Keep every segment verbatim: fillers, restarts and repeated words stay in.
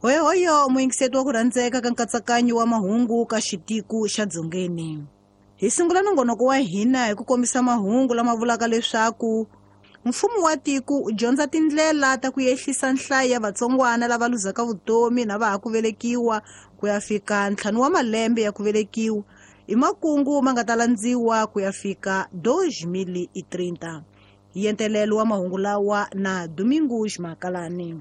Hoyohoyo muyingiseti wa ku rhandzeka ka nkatsakanyo wa mahungu ka xitiku xa Dzongeni. Hi sungula nongonoko wa hina hi ku kombisa mahungu lama vulaka leswaku mfumo wa tiko u dyondza tindlela ta ku ehlisa nhlayo ya vatsongwana lava luzaka vutomi na va ha ku velekiwa ku ya fika ntlhanu wa malembe ya ku velekiwa i makungu ma nga ta landziwa ku ya fika dois mil e trinta. Yentelelo wa mahungu lawa na Domingos Makalani.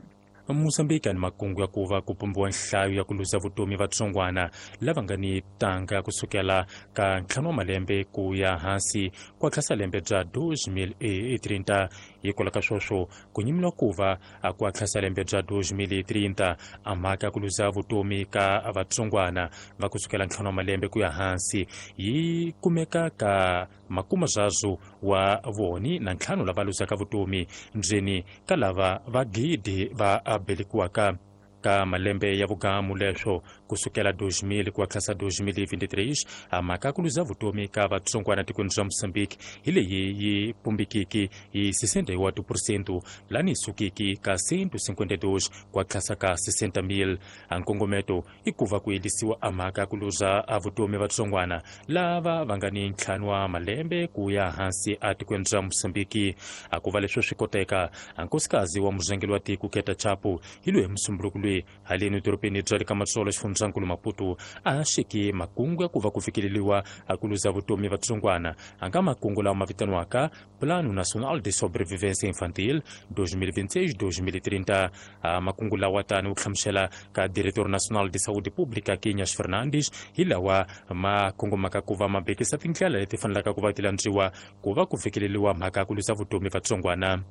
Mozambique ni makungu ya ku va ku pumbiwa nhlayo ya ku luza vutomi vatsongwana lava nga ni tanga kusukela ka ntlhanu wa malembe ku ya hansi ku tlhasa lembe bya dois mil e trinta. Hikwalaho ka sweswo ku nyimiwa ku va ku tlhasa lembe bya dois mil e trinta a mhaka ya ku luza vutomi ka vatsongwana va kusukela ntlhanu wa malembe ku ya hansi yi kumeka ka makuma zwazo wa voni na ntlhanu lava luzaka vutomi ndzeni ka lava va gidi va abelikiwaka ka malembe ya vugamu leswo kusukela dois mil ku tlhasa dois mil e vinte e três. A mhaka ku luza vutomi ka vatsongwana tikweni ra Mozambique hi leyi yi pumbikiki hi sessenta e oito por cento lani sukiki ka cento e cinquenta e dois ku tlhasa ka sessenta mil. A nkongometo i ku va ku yelisiwa a mhaka ku luza a vutomi vatsongwana lava va nga ni ntlhanu wa malembe ku ya hansi a tikweni ra Mozambique. A ku va leswo swi koteka a nkosikazi wa muzengeli wa tiko Keta Chapo hi loyi musumbunuko loyi haleni dorobeni bya le ka Matsolo xifundzankulu Maputo a xeke makungu ya ku va ku fikeleriwa a ku luza vutomi vatsongwana a nga makungu lawa ma vitaniwaka Plano Nacional de Sobrevivência Infantil dois mil e vinte e seis dois mil e trinta. A makungu lawa tani u hlamusela ka Diretor Nacional de Saúde Pública Quinhas Fernandes hi lawa ma kongomaka ku va ma bekisa tindlela leti fanelaka ku va ti landziwa ku va ku fikeleriwa mhaka ya ku luza vutomi vatsongwana.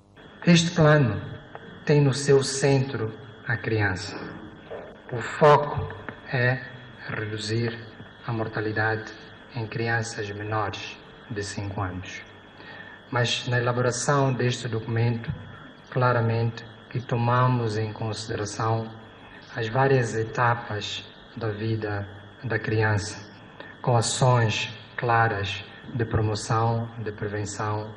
Este plano tem no seu centro a criança. O foco é reduzir a mortalidade em crianças menores de cinco anos. Mas na elaboração deste documento, claramente que tomamos em consideração as várias etapas da vida da criança, com ações claras de promoção, de prevenção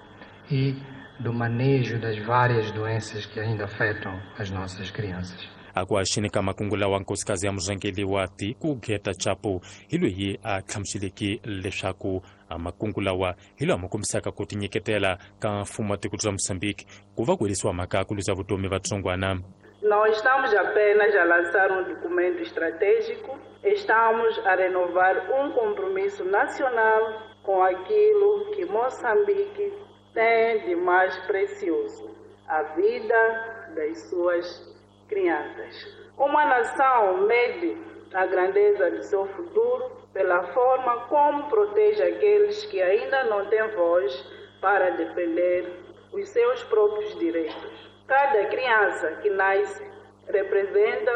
e do manejo das várias doenças que ainda afetam as nossas crianças. Akuaxini ka makungu lawa nkosikazi ya muzengeli wa tiko Geta Chapo hi loyi a hlamuseleke leswaku makungu lawa hi lawa ma kombisaka ku tinyiketela ka mfumo wa tiko bya Mozambique ku va ku herisiwa mhaka ya ku luza vutomi vatsongwana. Não estamos apenas a lançar um documento estratégico, estamos a renovar um compromisso nacional com aquilo que Moçambique tem de mais precioso, a vida das suas crianças. Uma nação mede a grandeza do seu futuro pela forma como protege aqueles que ainda não têm voz para defender os seus próprios direitos. Cada criança que nasce representa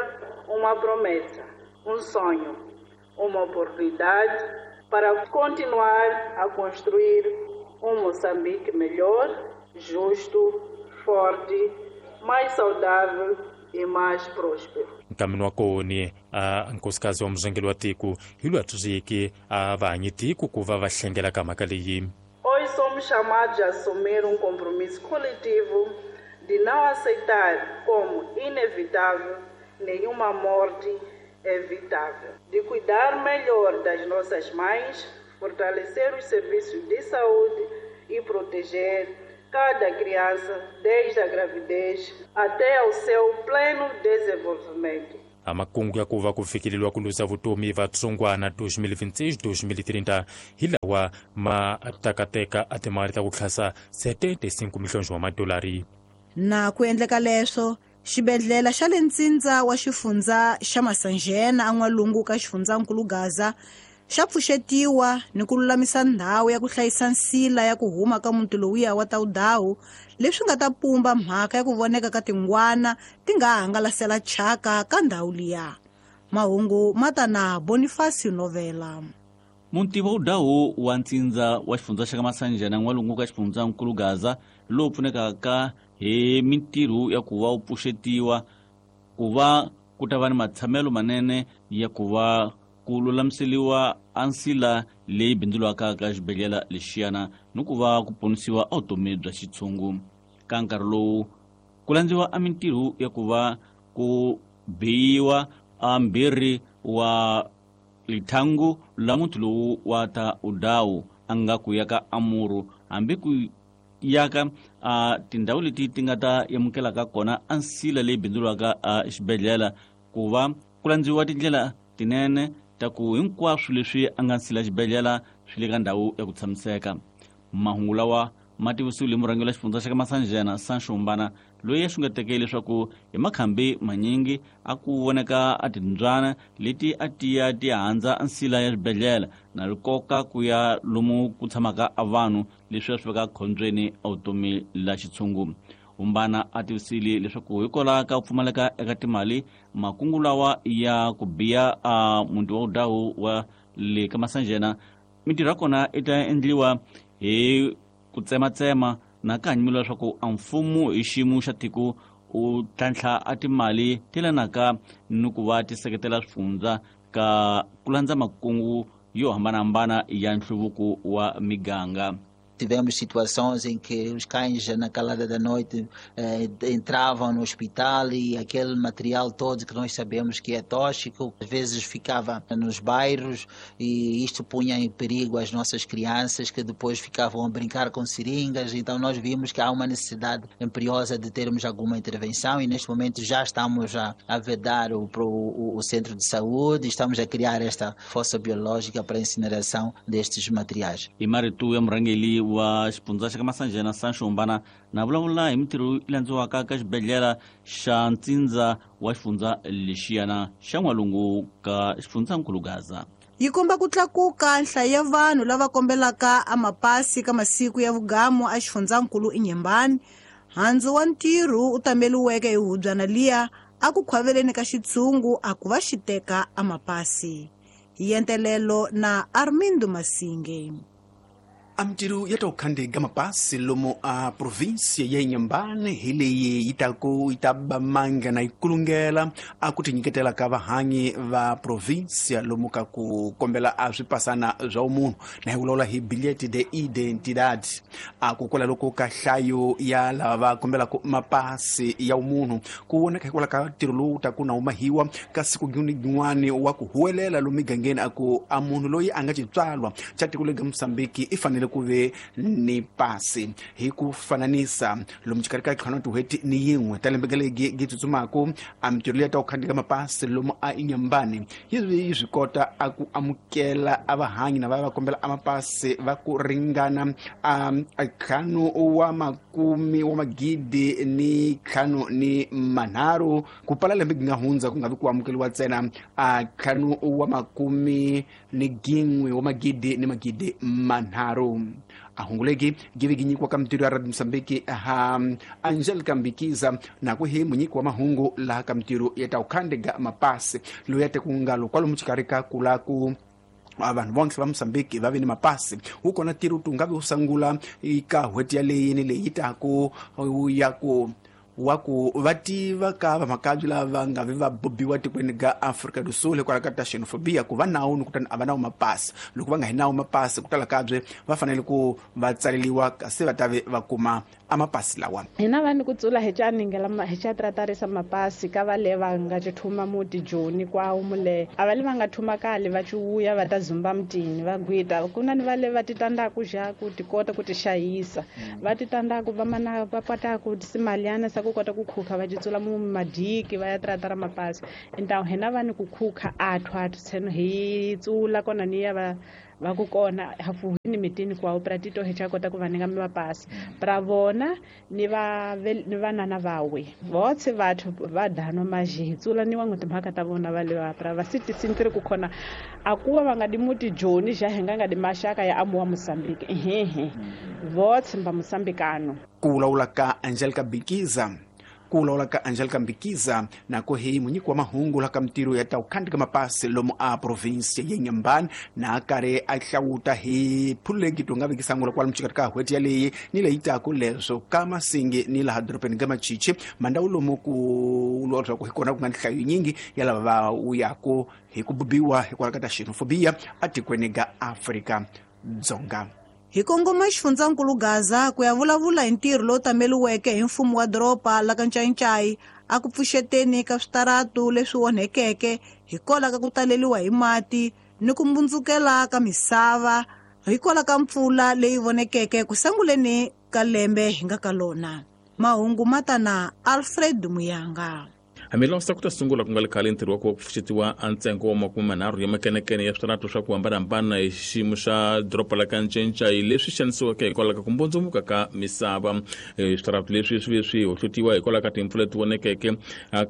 uma promessa, um sonho, uma oportunidade para continuar a construir um Moçambique melhor, justo, forte, mais saudável e mais próspero. Nkamini wa koni a nkosikazi wa muzengeli wa tiko hi loyi a tsundzuxeke a vahanyi tiko ku va va hlengela ka mhaka leyi. Hoje somos chamados a assumir um compromisso coletivo de não aceitar como inevitável nenhuma morte evitável, de cuidar melhor das nossas mães, fortalecer os serviços de saúde e proteger cada criança desde a gravidez até ao seu pleno desenvolvimento. A makungu ya ku va ku fikeleriwa ku luza vutomi vatsongwana dois mil e vinte e seis dois mil e trinta hi lawa ma takateka a timali ta ku tlhasa setenta e cinco milhões wa madolari. Na ku endleka leswo xibedhlele xa le ntsindza wa xifundza xa Masanjena an'walungu ka xifundzankulu Gaza xa pfuxetiwa ni ku lulamisa ndhawu ya ku hlayisa nsila ya ku huma ka muti lowuya wa Tawudawu leswi nga ta pumba mhaka ya ku voneka ka tingwana ti nga hangalasela thyaka ka ndhawu liya. Mahungu ma ta na Bonifacio Novela. Muti wa Udawu wa ntsindza wa xifundza xa ka Masanjena n'walungu ka xifundzankulu Gaza lowu pfunekaka hi mintirho ya ku va wu pfuxetiwa ku va ku ta va ni matshamelo manene ya ku va ku lulamiseriwa a nsila leyi bindzuriwaka ka xibedhlele lexiyana ni ku va ku ponisiwa vutomi bya xitshungu. Ka nkarhi lowu ku landziwa a mintirho ya ku va ku biyiwa a mbirhi wa lithangu la muti lowu wa ta udawu a nga ku yaka amuru hambi ku yaka a tindhawu leti ti nga ta amukelaka kona a nsila leyi bindzuriwaka a xibedhlele ku va ku landziwa tindlela tinene ta ku hinkwaswo leswi a nga nsila xibedhlele swi le ka ndhawu ya ku tshamiseka. Mahungu lawa ma tivisiwile murhangeri wa xifundza xa ka Masanjena Sancho Mbana loyi a xungeteke leswaku hi makhambi manyingi a ku voneka a timbyana leti a tiya ti handza nsila ya xibedhlele na rikoka ku ya lomu ku tshamaka a vanhu leswi a swi veka khombyeni a vutomi la xitshungu. Umbana a tivisile leswaku hikwalaho ka ku pfumaleka eka timali makungu lawa ya ku biya a muti wa udawu wa le ka Masanjena mintirho ya kona i ta endliwa hi ku tsematsema na ka hanyimelo leswaku a mfumo hi xiyimo xa tiko u tlhantlha a timali ti lanaka ni ku va ti seketela swifundza ka ku landza makungu yo hambanahambana ya nhluvuko wa miganga. Tivemos situações em que os cães, na calada da noite, eh, entravam no hospital e aquele material todo que nós sabemos que é tóxico, às vezes ficava nos bairros e isto punha em perigo as nossas crianças que depois ficavam a brincar com seringas. Então nós vimos que há uma necessidade imperiosa de termos alguma intervenção e neste momento já estamos a, a vedar o, o, o centro de saúde, estamos a criar esta fossa biológica para a incineração destes materiais. E Maritu Mrangeli wa xifundza xa ka Masanjena Sancho Mbana na vulavula hi mintirho yi landziwaka ka xibedhlele xa ntsindza wa xifundza lexiyana xa n'walungu ka xifundzankulu Gaza. Yi komba ku tlakuka nhlayo ya vanhu lava kombelaka amapasi ka masiku ya vugamu a xifundzankulu Inhambane. Handzu wa ntirho u tameliweke hi hubyana liya a ku khwaveleni ka xitshungu a ku va xi teka amapasi. Yentelelo na Armindo Masinge. Amtiru ya tokhandega mapasi lomo a província ya Inhambane hi leyi yi taku yi ta ba manga na ikulungela a ku tinyiketela ka vahanyi va província lomu ka ku kombela a swipasana swa munhu na hi vulavula hi bilhete de identidade a ku kwala loko ka hlayo ya lava va kombelaka mapasi ya munhu ku voneka hikwalaho ka ntirho lowu taku na humahiwa ka siku rin'wani wa ku huwelela lomu migangeni a ku a munhu loyi a nga xitswalwa xa tiko lega Mozambique i fanele ku ve ni pasi hi ku fananisa lomu xikarhi ka ntlhanu tin'hweti ni yin'we ta lembe legi gi tsutsumaku a mintirho leyi ta ku khandziyeka mapasi lomu a Inhambane yi yi swi kota a ku amukela a vahanyi na va va kombela a mapasi va ku ringana a ntlhanu wa makumi wa magidi ni ntlhanu ni manharhu ku pala lembe gi nga hundza ku nga vi ku amukeliwa ntsena a ntlhanu wa makumi ni gin'we wa magidi ni magidi manharhu. A hunguleki give gi nyikiwa ka mintirho ya Radio Mozambique ha Angelica Mbikiza na ku hi munyiki wa mahungu laha ka mintirho ya ta ku khandziyeka mapasi loyi a teku ngalo kwalomu xikarhi ka ku la ku vanhu vonke va Mozambique va ve ni mapasi wu kona ntirho tu nga vi wu sungula eka n'hweti yaleyi ni leyi taku ya ku wa ku va tiva ka vamakabye lava nga vi va bobiwa tikweni ga Afrika do Sul hikwalaho ka ta xenophobia ku va nawu ni kutani a va nawu mapasi loko va nga hi nawu mapasi ku tala kabye va fanele ku va tsaleliwa kasi va ta ve va kuma a mapasi lawa. Hina vanhu ku tsula hi tsaningela hi xa tratarisa mapasi ka va le va nga thuma muti joni kwawo mule a va le va nga thuma kale va ciwuya va ta zumba mutini va gwita ku na ni va le va titanda ku ja ku ti kota ku ti xayisa va titanda ku va mana va pata ku simaliana sa ku kota ku khukha va titsula mu madiki va ya tratara mapasi intawu hina vanhu ku khukha athu athu tseno hi tsula kona ni ya va va ku kona hafu ni mitini kwawo pratito hi cha kota ku va ninga mapasi pra vona ni va ni vanana vawe votse vathu va dano maji hi tsula ni wangu timhaka ta vona va le va pra va siti sintiri ku khona akuwa va nga di muti joni ja hi nga nga di maxaka ya amuwa Mozambique ehehe votse mba Mozambicano. Ku vulavula ka Angelica Bikiza ku vulavula ka Angelica Mbikiza na ku hi munyiki wa mahungu la ka mintirho ya ta ku khandziyeka mapasi lomu a província ya Inhambane na karhi a hlawuta hi phulegi to nga vekisa ngula kwalomu xikarhi ka n'hweti yaleyi ni leyi taku leswo ka Masingi ni laha dorobeni ka Machichi mandhawu lomu ku vuriwa leswaku hi kona ku nga nhlayo yinyingi ya lava va wuyaku hi ku bubiwa hikwalaho ka ta xenophobia atikweni ga Afrika Dzonga. Hi kongoma xifundzankulu Gaza ku ya vulavula hi ntirho lowu tameliweke hi mfumo wa doroba la ka Ncayincai a ku pfuxeteni ka switaratu leswi onhekeke hikwalaho ka ku taleliwa hi mati ni ku mbundzukela ka misava hikwalaho ka mpfula leyi vonekeke ku sunguleni ka lembe hi nga ka lona. Mahungu matana Alfred Muyanga. Hambiloko ku ta sungula ku nga le khale ntirho wa ku pfuxetiwa a ntsengo wa makume manharhu ya makenekene ya switaratu swa ku hambanahambana hi xiyimo xa doroba la ka Ncayincai leswi xanisiweke hikwalaho ka ku mbundzuka ka misava. Switaratu leswi swi ve swi hohlotiwa hikwalaho ka timpfula leti vonekeke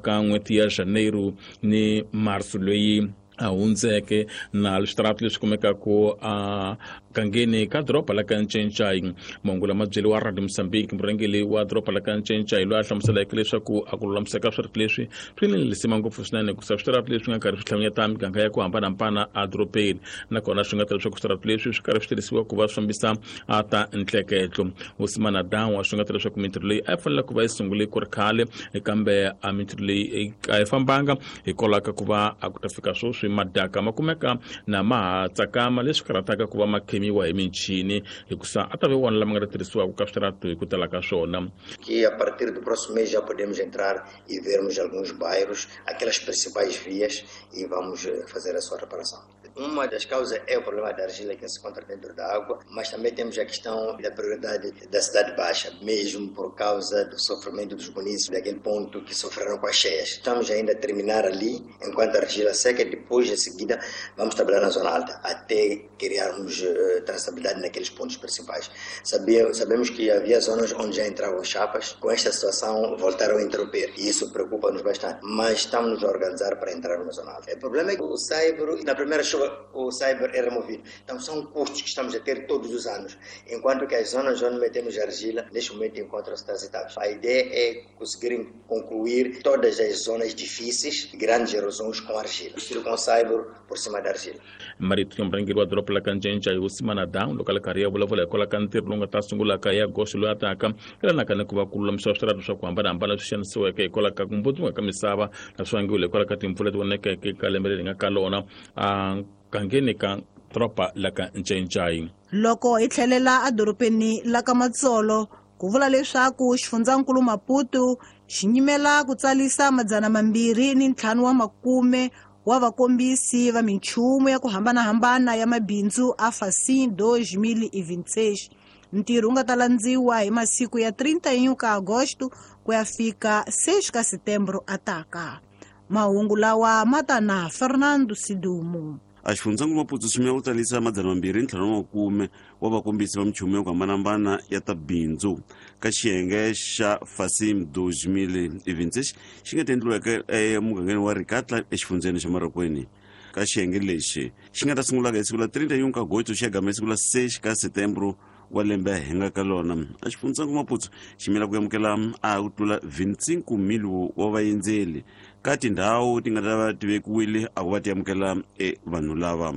ka n'hweti ya Janeiro ni Marso leyi a hundzeke, na switaratu leswi kumekaka a gangeni ka doroba la ka Ncayincai. Mahungu lama byeriwa Radio Mozambique murhangeri wa doroba la ka Ncayincai loyi a hlamuseleke leswaku a ku lulamiseka switaratu leswi swi ni lisima ngopfu swinene hikusa switaratu leswi nga karhi swi hlanganyeta miganga ya ku hambanahambana edorobeni, nakona swi nga ta leswaku switaratu leswi swi karhi swi tirhisiwa ku va swi fambisa a ta ntleketlo. Usimana Danwa swi nga ta leswaku mintirho leyi a yi fanele ku va yi sungule ku ri khale, kambe a mintirho leyi a yi fambanga hikwalaho ka ku va a ku ta fika sweswi madaka ma kumeka na ma ha tsakama leswi karhataka ku va ma khemiwa hi michini hikusa a ta ve wona lama nga ta tirhisiwaka ka switaratu hi ku tala ka swona. Que a partir do próximo mês já podemos entrar e vermos alguns bairros, aquelas principais vias, e vamos fazer a sua reparação. Uma das causas é o problema da argila que se encontra dentro da água, mas também temos a questão da prioridade da cidade baixa, mesmo por causa do sofrimento dos munícipes daquele ponto que sofreram com as cheias. Estamos ainda a terminar ali, enquanto a argila seca, depois em seguida vamos trabalhar na zona alta, até criarmos uh, traçabilidade naqueles pontos principais. Sabia, sabemos que havia zonas onde já entravam chapas, com esta situação voltaram a interromper, e isso preocupa-nos bastante, mas estamos a organizar para entrar na zona alta. O problema é que o saibro, na primeira chuva, o cyber é removido. Então são custos que estamos a ter todos os anos, enquanto que as zonas onde metemos argila, neste momento encontram-se transitadas. A ideia é conseguirem concluir todas as zonas difíceis, grandes erosões com argila, com cyber por cima da argila. Marito murhangeri wa doroba la ka Ncayincai Usimana Down loko a le karhi ya vulavula hikwalaho ka ntirho lowu nga ta sungula ka ya goxo loyi a taka yelanaka ni ku va ku lulamisiwa switaratu swa ku hambanahambana leswi xanisiweke hikwalaho ka ku mbundzuka ka misava naswi vangiwile hikwalaho ka timpfula leti vonekeke ka lembe leri nga ka lona a gangeni ka doroba la ka Ncayincai. Loko hi tlhelela edorobeni la ka Matsolo ku vula leswaku xifundzankulu Maputo xi nyimela ku tsalisa madzana mambirhi ni ntlhanu wa makume wa vakombisi va minchumu ya ku hambanahambana ya mabindzu a Facim dois mil e vinte e seis. Ntirho wu nga ta landziwa hi masiku ya trinta e um ka agosto ku ya fika seis ka setembro ataka. Mahungu lawa ma ta na Fernando Sidumo. A xifundzankulu Maputo xi u tsalisa madzana mambirhi ntlhanu wa makume wa vakombisi va minchumu ya ku hambanahambana ya ta bindzu ka xiyenge xa Facim dois mil e vinte e seis xi nga ta endliweke emugangeni wa Rikatla exifundzeni xa Marokweni. Ka xiyenge lexi xi nga ta sungulaka hi siku la trinta e um ka agosto xi ya gama hi siku la seis ka setembro wa lembe hi nga ka lona. A xifundzankulu Maputo xi yimela ku amukela a ku tlula vinte e cinco mil wa vaendzeli ka tindhawu ti nga ta va ti vekiwile a ku va ti amukela e vanhu lava.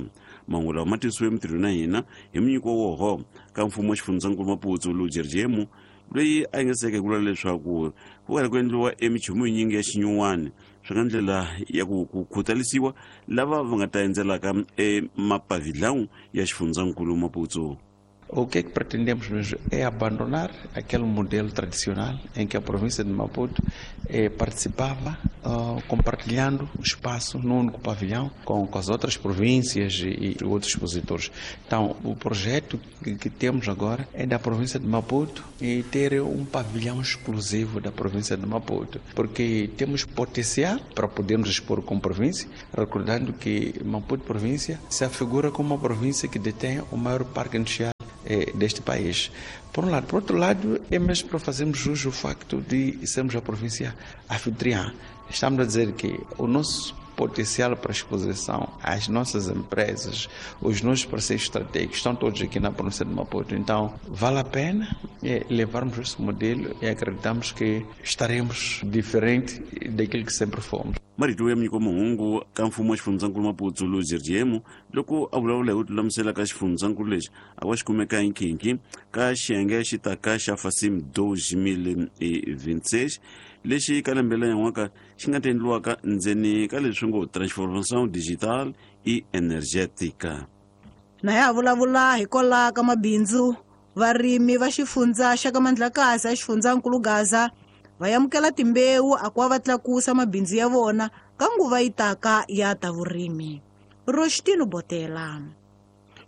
Mahungu lawa ma tisiwe mintirhweni na hina hi munyiko woho ka mfumo wa xifundzankulu Maputo Lujerjemu loyi a yingiseke hi ku vula leswaku ku karhi ku endliwa emichumu yinyingi ya xinyuwani swi nga ndlela ya ku ku khutalisiwa lava va nga ta endzelaka emapavilhão ya xifundzankulu Maputo. O que é que pretendemos mesmo é abandonar aquele modelo tradicional em que a província de Maputo eh, participava uh, compartilhando o espaço num único pavilhão com, com as outras províncias e, e outros expositores. Então, o projeto que, que temos agora é da província de Maputo e ter um pavilhão exclusivo da província de Maputo, porque temos potencial para podermos expor como província, recordando que Maputo província se afigura como uma província que detém o maior parque industrial deste país. Por um lado. Por outro lado, é mesmo para fazermos jus ao facto de sermos a província anfitriã. Estamos a dizer que o nosso potencial para exposição, as nossas empresas, os nossos parceiros estratégicos estão todos aqui na província de Maputo. Então, vale a pena é, levarmos esse modelo e acreditamos que estaremos diferente daquilo que sempre fomos. Marito ya munyiko mahungu ka mfumo wa xifundzankulu Maputo Lujerjemu loko a vulavula hi ku lulamisela ka xifundzankulu lexi a va xi kumeka hi nkhinkhi ka xiyenge xi taka xa Facim dois mil e vinte e seis lexi ka lembe leri yan'waka xi nga ta endliwaka ndzeni ka leswi ngo transformação digital e energética. Na ya vulavula hikwalaho ka mabindzu, varimi va xifundza xa ka Mandlakazi exifundzankulu Gaza va amukela timbewu a ku va tlakusa mabindzu ya vona ka nguva yi taka ya ta vurimi. Roshtino Botela.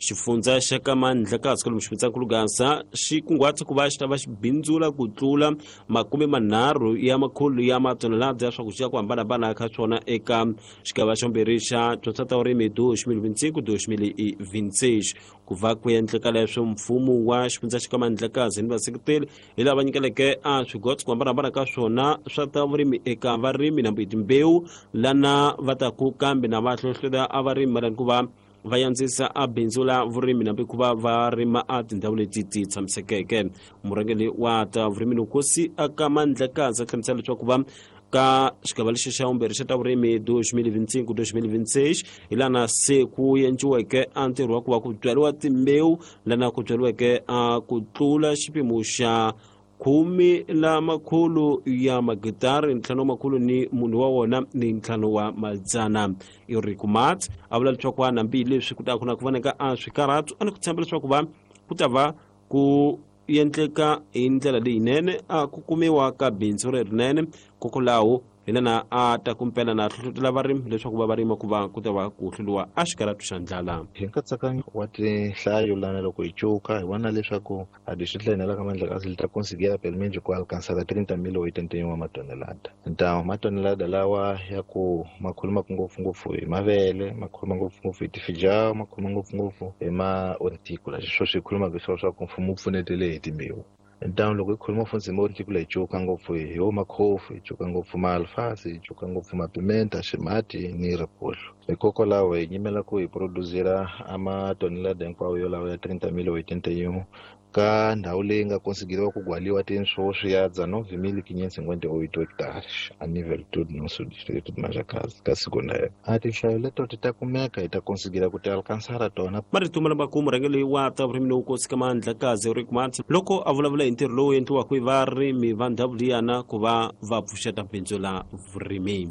Xifundza xa ka Mandlakazi kwalomu xifundzankulu Gaza xi kunguhata ku va xi ta va xi bindzula ku tlula makume manharhu ya makhulu ya matonelada ya swakudya ku hambanahambana ka swona eka xigava xa vumbirhi xa dyondzo ta vurimi dois mil vinte e cinco dois mil e vinte e seis. Ku va ku endleka leswo mfumo wa xifundza xa ka Mandlakazi ni vaseketeli hi lava nyikeleke a swigotso ku hambanahambana ka swona swa ta vurimi eka varimi na timbewu lana va ta ku kambe na va hlohletela a varimi mayelana ku va va yandzisa a bindzu la vurimi nambi ku va va rima a tindhawu leti ti tshamisekeke. Murhangeri wa ta vurimi Nkosi aka Mandlakazi a hlamusela leswaku va ka xigava lexi xa vumbirhi xa ta vurimi dois mil vinte e cinco dois mil vinte e seis hi lana se ku endliweke a ntirho wa ku va ku byariwa timbewu lana ku byariweke a ku tlula xipimo xa khume la makhulu ya magitari ntlhanu wa makhulu ni munhu wa wona ni ntlhanu wa madzana. Eric Mat a vula leswaku hambi leswi ku ta ku na ku voneka a swikarhatu a ni ku tshemba leswaku va ku ta va ku endleka hi ndlela leyinene a ku kumiwa ka bindzu lerinene kokwalaho hi lana a ta kumpela na hlohlotela varimi leswaku va va rima ku va ku ta va ku hluriwa a xikarhatu xa ndlala. Hi nkatsakanyo wa tinhlayo lana loko hi cuka hi vona leswaku a distrito la hina la ka Mandlakazi li ta conseguir pelo menos ku alcançar trinta mil oitenta e uma matonelada. Então matonelada lawa ya ku ma khuluma ngopfungopfu hi mavele, ma khuluma ngopfungopfu hi tifijao, ma khuluma ngopfungopfu hi ma hortícola. Sweswo swi khuluma leswaku mfumo wu pfunetele hi timbewu. Então loko hi khuluma futhi hi hortícola hi cuka ngopfu hi wo makhofu, hi cuka ngopfu maalfasi, hi cuka ngopfu mapimenta, ximati ni ripollo. Hikokwalaho hi nyimela ku hi produzira a matonelada hinkwawo yolawo ya trinta mil oitenta e um ka ndhawu leyi nga conseguiriwa ku gwaliwa tinswo ya dezenove mil quinhentos e cinquenta e oito hectares a nível todo nosso distrito de Manjakazi ka siku lero. A tinhlayo leto ti ta kumeka hi ta conseguira ku ti alcançar tona. Marito lama ku murhangeri wa ta vurimi Nkosi ka Mandlakazi Eric Mat loko a vulavula hi ntirho lowu endliwaka hi varimi va ndhawu liyana ku va va pfuxeta bindzu la vurimi.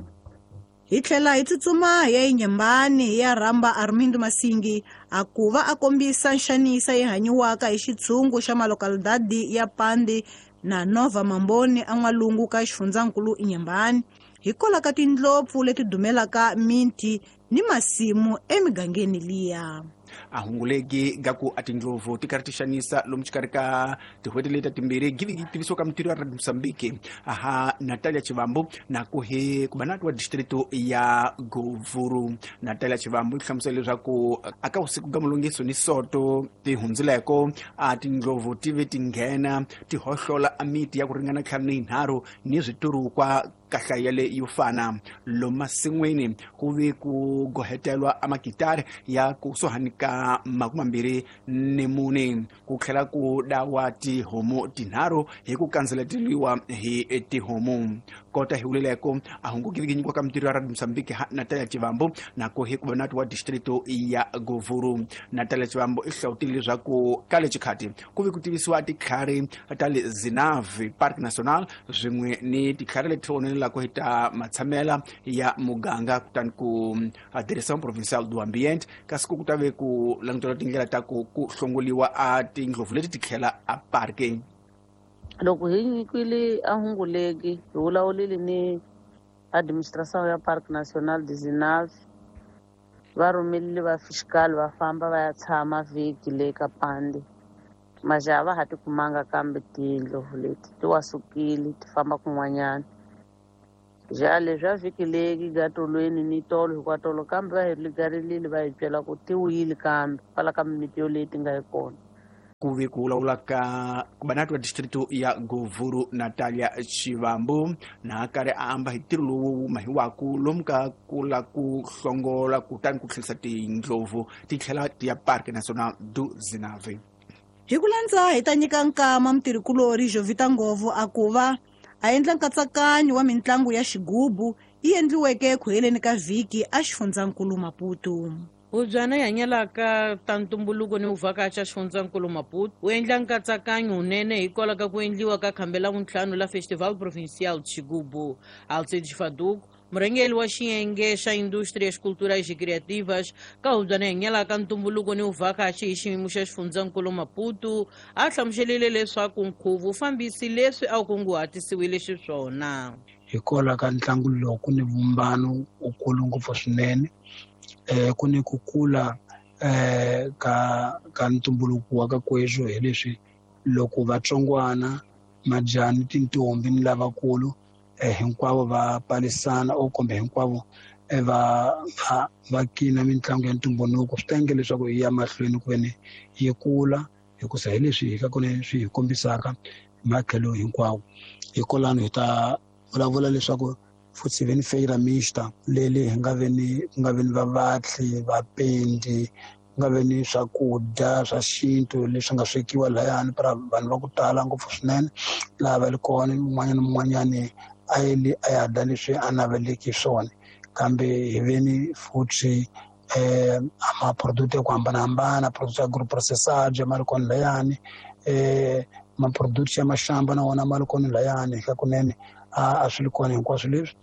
Hi tlhela hi tsutsuma hi ya eNyembani hi ya rhamba Armindo Masingi a ku va a kombisa nxanisa yi hanyiwaka hi xitshungu xa malokalidadi ya Pandi na Nova Mamboni en'walungu ka xifundzankulu Nyembani hikwalaho ka tindlopfu leti dumelaka minti ni masimu emigangeni liya. A hunguleki ga ku a tindlovu ti karhi ti xanisa lomu xikarhi ka tin'hweti leti timbirhi givi yi tivisiwa ka mintirho ya Radio Mozambique aha Natalia Chivambu na ku hi kubanati wa distrito ya Govuru. Natalia Chivambu yi hlamusela leswaku aka vusiku ga mulungiso ni soto ti hundzileko a tindlovu ti ve ti nghena ti hohlola a miti ya ku ringana ntlhanu ni yinharhu ni switurukwa kahlaya le yo fana lomasin'wini ku ve ku gohetelwa a makitari ya kusuhani ka makume mambirhi ni mune ku tlhela ku dawa tihomu tinharhu hi ku kandzeleteriwa hi tihomu. Kota hi vuleleko a hungukivi nyikiwa ka mintirho ya Radio Mozambique ha Natalia Chivambu na ku hi kubanati wa distrito ya Govuru. Natalia Chivambu i hlawutile leswaku ka le xikhati ku ve ku tivisiwa titlhari ta le Zinavi Park National swin'we ni titlhari leti onelaka hi ta matshamela ya muganga kutani ku Direção Provincial do Ambiente kasi ku ta ve ku langutela tindlela ta ku ku hlongoliwa a tindlovu leti ti tlhela a parke. Loko hi nyikiwile a hunguleki hi vulavulile ni administração ya Parque Nacional de Zinave va rhumerile va fiscal va famba va ya tshama vhiki le ka Pandi majaha va ha ti kumanga kambe tindlovu leti ti wa sukile ti famba kun'wanyana. Jale swa vhiki leki gatolweni ni tolo hikwatolo kambe va hi ligarilile va hi byela ku ti wuyile kambe kwala ka mimiti yoleyi ti nga yi kona. Ku ve ku vulavula ka kubanati wa distrito ya Govuru Natalia Chivambu na karhi a amba hi ntirho lowu wu mahiwaku lomu ka ku la ku hlongola kutani ku tlherisa tindlovu ti tlhela ti ya Parque Nacional do Zinave. Hi ku landza hi ta nyika nkama mutirhikulori Jovita Ngovo a ku va a endla nkatsakanyo wa mintlangu ya xigubu yi endliweke ku heleni ka vhiki a xifundzankulu Maputo. Hubyana yi hanyelaka ta ntumbuluko ni vuvhakachi xifundzankulu Maputo wu endla nkatsakanyo wunene hikwalaho ka ku endliwa ka khambe la vuntlhanu la Festival Provincial de Xigubu. Alcides Faduco Murhangeri wa xiyenge xa Indústrias Culturais e Criativas ka hubyana hanyela ka ntumbuluko ni vuvhakachi hi xiyimo xa xifundzankulu Maputo a hlamuselile leswaku nkhuvo wu fambisi leswi a wu kunguhatisiwile xiswona. Hikwalaho ka ntlangu lowu ku ni vumbano wukulu ngopfu swinene, um ku ni ku kula um ka ka ntumbuluko wa ka kweswo hi leswi loko vatsongwana majani tintombi ni lavakulu um hinkwavo va palisana o kumbe hinkwavo va va va kina mitlangu ya ntumbuluko, swi ta endla leswaku yi ya mahlweni ku veni yi kula hikusa hi leswi hi ka kona swi hi kombisaka matlhelo hinkwawo. Hikwalano hi ta vulavula leswaku futhi ve ni feira mixta leli hi nga ve ni ku nga ve ni vavatli, vapendi, ku nga ve ni swakudya swa xintu leswi nga swekiwa lahayani para vanhu va ku tala ngopfu swinene laha va ri kona, un'wanyana na un'wanyani a yele a ya dya leswi a naveleki swona. Kambe hi ve ni futhi um maproduct ya ku hambanahambana, product ya agroprocessage ma ri kona layani, um maproduct ya maxamba na wona ma ri kona layani ka kunene a a swi ri kona hinkwaswo leswi.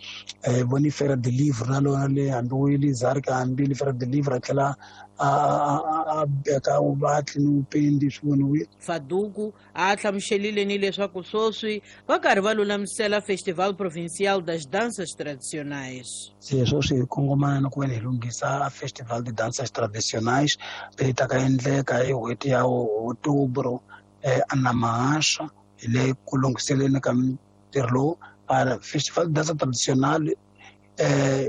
Um voni Feira de Livre na lona le hambi wu yile Zarka hambi le Feira de Livre a tlhela a a beka vuvatli ni vupendi swi voniwile. Faduku a hlamuselile ni leswaku sweswi va karhi va lulamisela Festival Provincial das Danças Tradicionais. Se sweswi hi kongomana na ku veni hi lunghisa Festival de Danças Tradicionais leyi ta ka endleka hi n'hweti ya Outubro um Anamahasha, hi le ku lunghiseleni ka mintirho lowu. Festival de Dança Tradicional um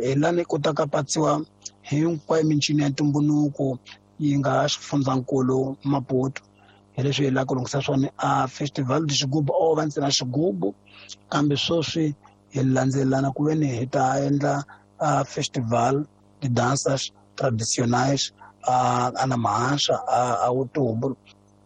hi lani kotaka patsiwa hinkwayo mincino ya ntumbuluko yi nga xifundzankulu Maputo. Hi leswi hi lava ku lunghisa swona. A Festival de Xigubu o va ntsena xigubu, kambe sweswi hi landzelelana ku veni hi ta endla a Festival de Danças Tradicionais a Anamahasha a Outubro.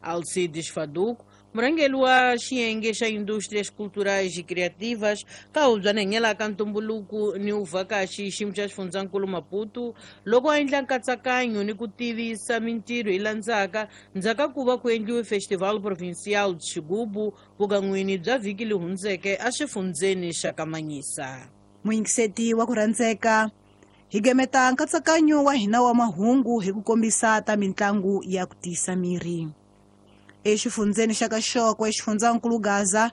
Alcides Faduco, murhangeri wa xiyenge xa Indústrias Culturais e Criativas ka hubyana hanyela ka ntumbuluko ni vuvhakachi xiyimo xa xifundzankulu Maputo, loko a endla nkatsakanyo ni ku tivisa mintirho yi landzaka ndzhaku ka ku va ku endliwe Festival Provincial de Xigubu vukan'wini bya vhiki leyi hundzeke exifundzeni xa Kamanyisa. Muyingiseti wa ku rhandzeka, hi gemeta nkatsakanyo wa hina wa mahungu hi ku kombisa ta mitlangu ya ku tiyisa miri. Exifundzeni xa Kaxoko exifundzankulu Gaza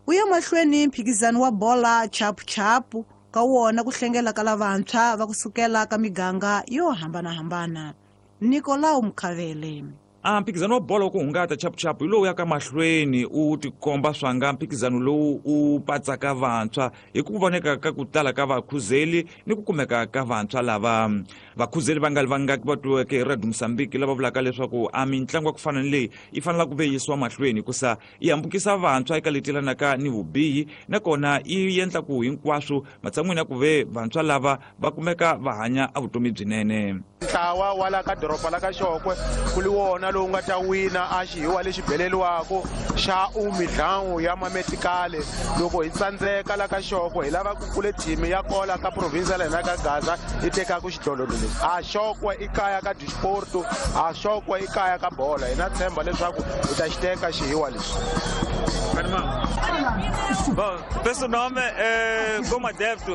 u ya mahlweni mphikizano wa bola chapuchapu ka wona ku hlengela ka lavantshwa va kusukela ka miganga yo hambanahambana. Nicolau Mkhavele. A mphikizano wa bolo wa ku hungata chapuchapu hi lowu ya ka mahlweni u tikomba swanga mphikizano lowu u patsaka vantshwa hi ku voneka ka ku tala ka vakhuzeli ni ku kumeka ka vantshwa lava. Vakhuzeli va nga li vangaki va twiweke hi Radio Mozambique lava vulaka leswaku a mitlangu ya ku fana ni leyi yi fanela ku ve yisiwa mahlweni hikusa yi hambukisa vantshwa eka leti yelanaka ni vubihi, nakona yi endla ku hinkwaswo matshan'wini ya ku ve vantshwa lava va kumeka va hanya a vutomi byinene. Ntlawa wa la ka doroba la ka Xokwe ku li wona lowu nga ta wina a xihiwa lexi beleliwako xa umidlangu ya mametikale. Loko hi tsandzeka la ka Xokwe hi lava ku kule thimi ya kola ka province la hina ka Gaza yi tekaka xidlodlo lexi. A Xokwe i kaya ka disporto, a Xokwe i kaya ka bola. Hina tshemba leswaku hi ta xi teka xihiwa lexi. Bom, penso nome é, como adepto,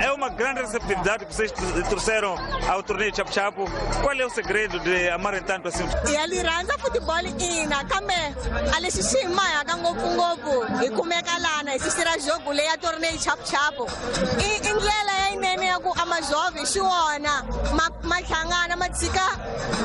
é uma grande receptividade que vocês trouxeram ao torneio Chapu Chapu. Qual é o segredo de amarem tanto assim? Ya lirhandza football ina kambe a lexi xi hi mahaka ngopfungopfu hi kumeka lana hi sisira jogo leyi ya torneio Chapu Chapu. I i ndlela yinene ya ku a majove xi wona ma ma hlangana ma tshika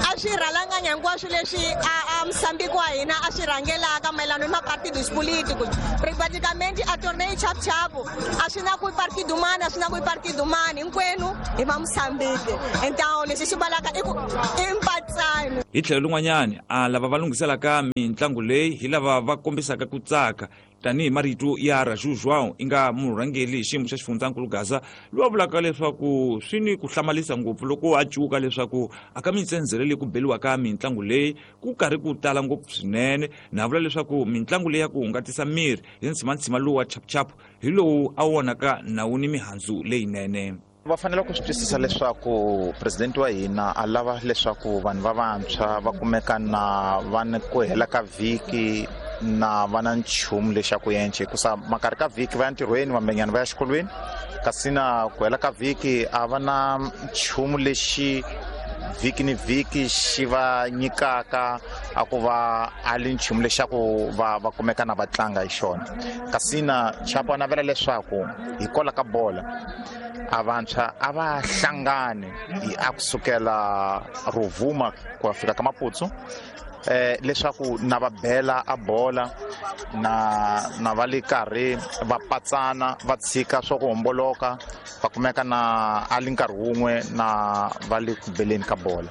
a swi rhalanganya hinkwaswo leswi a a Mozambique wa hina a swi rhangelaka mayelana ni mapartidos políticos. Praticamente a torneio Chapu Chapu a swi na ku partido mani a swi na ku partido mani hinkwenu hi va Mozambique. Então lexi xi valaka i ku i mpatsano. Hi tlhelo rin'wanyana a lava va lunghiselaka mitlangu leyi hi lava va kombisaka ku tsaka tanihi marito ya Raju João i nga murhangeri hi xiyimo xa xifundzankulu Gaza loyi a vulaka leswaku swi ni ku hlamarisa ngopfu loko a cuka leswaku aka mitsendzele leyi ku beliwaka mitlangu leyi ku karhi ku tala ngopfu swinene, na vula leswaku mitlangu leyi ya ku hungatisa miri hi ntshimantsima lowu wa chapuchapu hi lowu a vonaka nawu ni mihandzu leyinene. Va fanele ku swi twisisa leswaku president wa hina a lava leswaku vanhu va vantshwa va kumeka na va ni ku hela ka vhiki na va na nchumu lexaku yenche hikusa makarhi ka vhiki va ya ntirhweni vambenyana va ya xikolweni kasi na ku hela ka vhiki a va na nchumu lexi vhiki ni vhiki xi va nyikaka a ku va a li nchumu lexaku va va kumeka na va tlanga hi xona kasi na Chapo a navela leswaku hikwalaho ka bola a vantshwa a va hlangani a kusukela Rovuma ku ya fika ka Maputo eh leswaku na va bela a bola na na va le karhi va patsana va tshika swa ku homboloka va kumeka na a li nkarhi wun'we na va le ku beleni ka bola.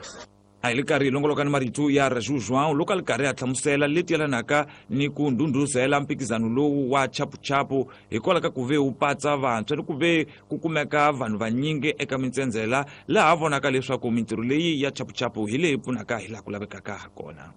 A hi le karhi hi longoloka ni marito ya Raju João loko a li karhi a hlamusela leti yelanaka ni ku ndhundhuzela mphikizano lowu wa chapuchapu hikwalaho ka ku ve wu patsa vantshwa ni ku ve ku kumeka vanhu vanyingi eka mintsendzela laha vonaka leswaku mintirho leyi ya chapuchapu hi leyi pfunaka hi laha ku lavekaka ha kona.